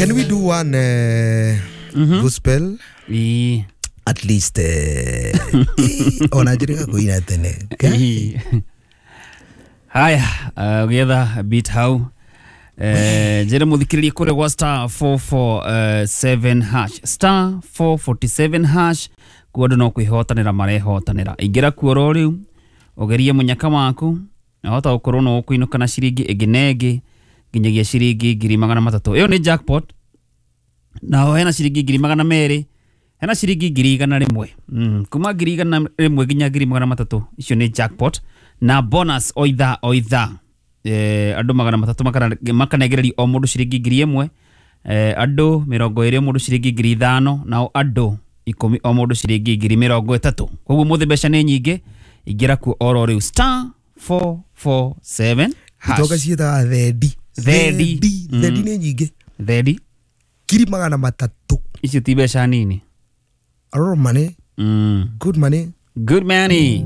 Can we do one gospel? Ii. At least ona njĩrĩga kũina tene. Ii. Haya, ũgĩetha beat hau, njĩre mũthikĩrĩrie kũrĩa gwa star 447 hash, star 447 hash, kuo andũ no kwĩhotanĩra marehotanĩra. Ingĩra kuo ro rĩu ũgerie mũnyaka waku, na hota gũkorwo no ũkũinũka na ciringi ĩngĩ na ĩngĩ nginyagia ciringi 300,000. Ĩyo nĩ jackpot. Naho hena ciringi 200,000, hena ciringi 100,000, kuma 100,000 nginya 300,000. Icio nĩ jackpot na bonus o ithaa o ithaa. Andũ 300 makanegererio o mũndũ ciringi 1,000, andũ 20 o mũndũ ciringi 5,000, nao andũ 10 o mũndũ ciringi 30,000. Koguo mũthĩ mbeca nĩ nyingĩ. Ingĩra kuo oro rĩu, star 447 hash. Itonga ciĩtaga thendi. Thendi. Thendi nĩ nyingĩ. Thendi. 300,000. Icio ti mbeca nini. A lot of money. Good money. Good money.